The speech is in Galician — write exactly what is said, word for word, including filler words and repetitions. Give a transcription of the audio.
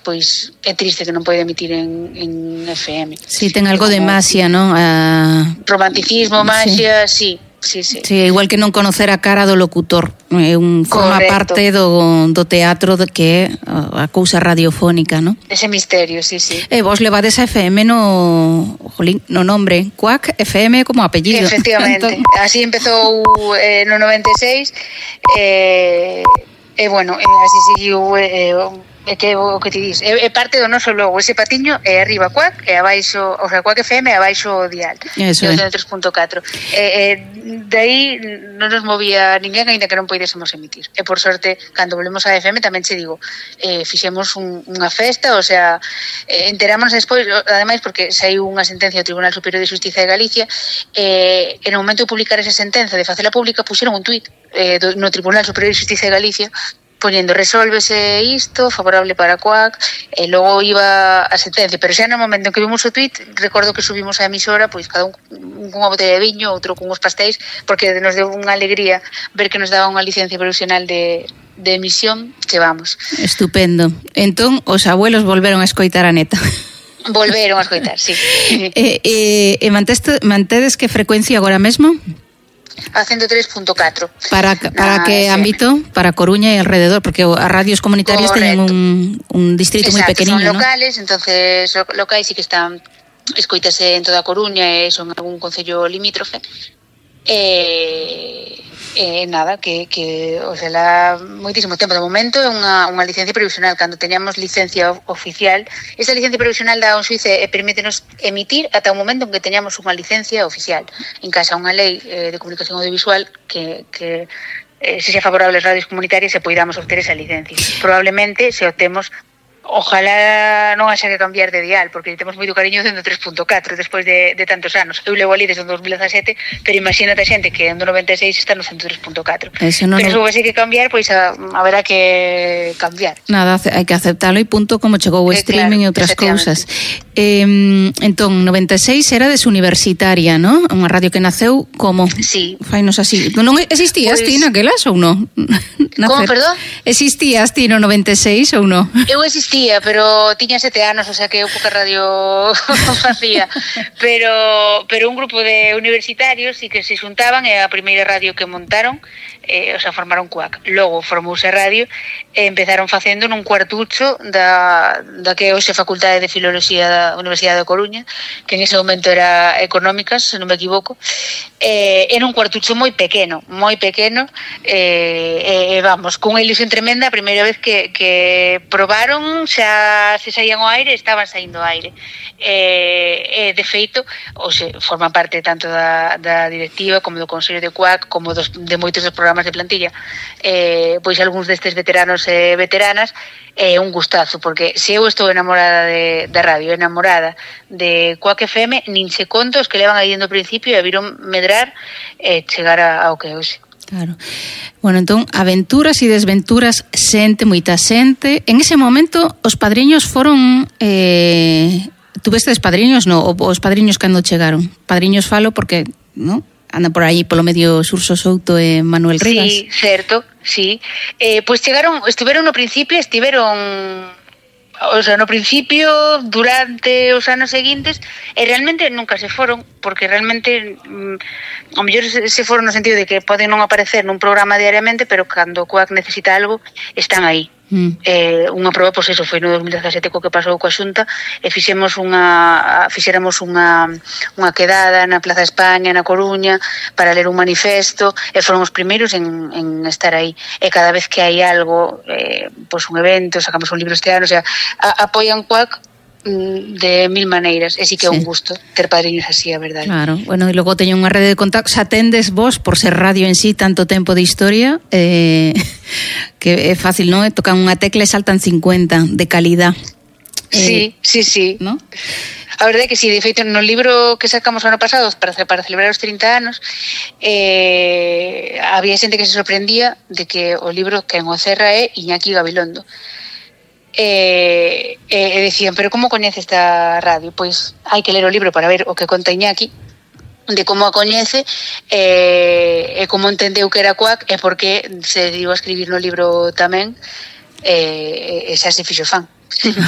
pois é triste que non pode emitir en, en F M. Sí, ten algo de masia, non? A... Romanticismo, masia, sí. Sí, sí. Sí, igual que non conocer a cara do locutor, é un forma Correcto. parte do, do teatro de que é a cousa radiofónica, non? Ese misterio, sí, sí. E vos levades a F M no, jolín, no nombre, Cuac F M como apellido. Efectivamente, entón... así empezou eh, no noventa e seis e, eh, eh, bueno, eh, así seguiu eh, é que o que ti dis, é, é parte do noso logo, ese patiño é arriba Cuac e abaixo, o sea, Cuac F M e abaixo o dial. Eso é. tres punto catro. E, e de aí non nos movía ninguén aínda que non poidésemos emitir. E por sorte, cando volvemos a F M tamén che digo, eh, fixemos un, unha festa, o sea, eh, enterámonos despois, ademais porque saiu unha sentencia do Tribunal Superior de Xustiza de Galicia, eh, e no momento de publicar esa sentenza, de facela pública, puxeron un tuit eh, do, no Tribunal Superior de Xustiza de Galicia poñendo resólvese isto, favorable para Cuac, e logo iba a sentencia, pero xa no momento en que vimos o tuit, recordo que subimos a emisora, pois cada un cunha botella de viño, outro con uns pastéis, porque nos deu unha alegría ver que nos daba unha licencia provisional de, de emisión, que vamos. Estupendo. Entón, os abuelos volveron a escoitar a neta. Volveron a escoitar, sí. e, e, e manteste, mantedes que frecuencia agora mesmo? A ciento tres punto catro. Para, para ah, que sí. ámbito? Para Coruña e alrededor, porque as radios comunitarias teñen un, un distrito moi pequeniño, son locales, ¿no? Entonces locais sí que están, escoítase en toda a Coruña e son algún concello limítrofe. E eh, nada, que, que o sea, la, moitísimo tempo de momento é unha, unha licencia provisional. Cando teñamos licencia oficial, esa licencia provisional da un xuiz e permítenos emitir ata o momento en que teñamos unha licencia oficial. En casa unha lei eh, de comunicación audiovisual que, que eh, se sea favorable ás radios comunitarias e poidamos obter esa licencia. Probablemente se obtemos, ojalá non haxa que cambiar de dial, porque temos moito cariño dentro tres punto catro despois de, de tantos anos. Eu levo ali desde o dos mil dezasete, pero imagínate a xente que en do noventa e seis está no ciento tres punto catro. No, pero no... se houve que cambiar, pois a, haberá que cambiar. Nada, hai que aceptalo e punto, como chegou o eh, streaming claro, e outras cousas. Eh, entón, noventa e seis era desuniversitaria, non? Unha radio que naceu como? Sí. Fainos así. Non existías pues... ti naquelas ou non? Como, perdón? Existías ti no noventa e seis ou non? Eu existía, pero tiña sete anos, o sea que eu pouca radio facía. Pero, pero un grupo de universitarios sí que se xuntaban e a primeira radio que montaron, eh, o sea, formaron Cuac. Logo formouse a radio e empezaron facendo nun cuartucho da, da que hoxe Facultade de Filoloxía da Universidade de Coruña, que en ese momento era Económicas, se non me equivoco. Eh, era un cuartucho moi pequeno, moi pequeno, e eh, eh, vamos, cunha ilusión tremenda, a primeira vez que, que probaron, xa se saían ao aire, estaban saindo ao aire. E, eh, de feito, ou se forman parte tanto da, da directiva como do Consello de Cuac, como dos, de moitos dos programas de plantilla, eh, pois algúns destes veteranos e veteranas, é eh, un gustazo, porque se eu estou enamorada de, de radio, enamorada de Cuac F M, nin se conto os que levan aí dentro do principio e viron medrar e eh, chegar a, ao que hoxe. Claro. Bueno, entón, aventuras e desventuras, xente, moita xente. En ese momento, os padriños foron... Eh, tuvestes padriños, no? Os padriños cando chegaron. Padriños falo porque, no? Andan por aí polo medio Xurxo Souto e Manuel Rivas. Sí, certo, sí. Eh, pois chegaron, estiveron no principio, estiveron... O sea, no principio, durante os anos seguintes, e realmente nunca se foron, porque realmente mm, ao mellor se, se foron no sentido de que poden non aparecer nun programa diariamente, pero cando Cuac necesita algo, están aí. Mm. Eh, unha proba, pois eso, foi no dos mil dezasete co que pasou coa Xunta, e fixemos unha fixéramos unha unha quedada na Plaza España, na Coruña, para ler un manifesto, e foron os primeiros en, en estar aí. E cada vez que hai algo, eh, pois un evento, sacamos un libro este ano, o sea, a, apoian Cuac de mil maneiras, e si que é un gusto ter padriños así, a verdade. Claro, bueno, e logo teño unha rede de contactos, atendes vos por ser radio en sí tanto tempo de historia, eh, que é fácil, non? Tocan unha tecla e saltan cincuenta de calidad. Sí, eh, sí, sí. ¿No? A verdade é que sí, de feito, no libro que sacamos o ano pasado para, para celebrar os trinta anos, eh, había xente que se sorprendía de que o libro que en o cerra é Iñaki Gabilondo. E, e decían, pero como coñece esta radio? Pois hai que ler o libro para ver o que conta Iñaki, de como a coñece e, e como entendeu que era Cuac e por que se decidiu a escribir no libro tamén, e, e xa se fixo fan.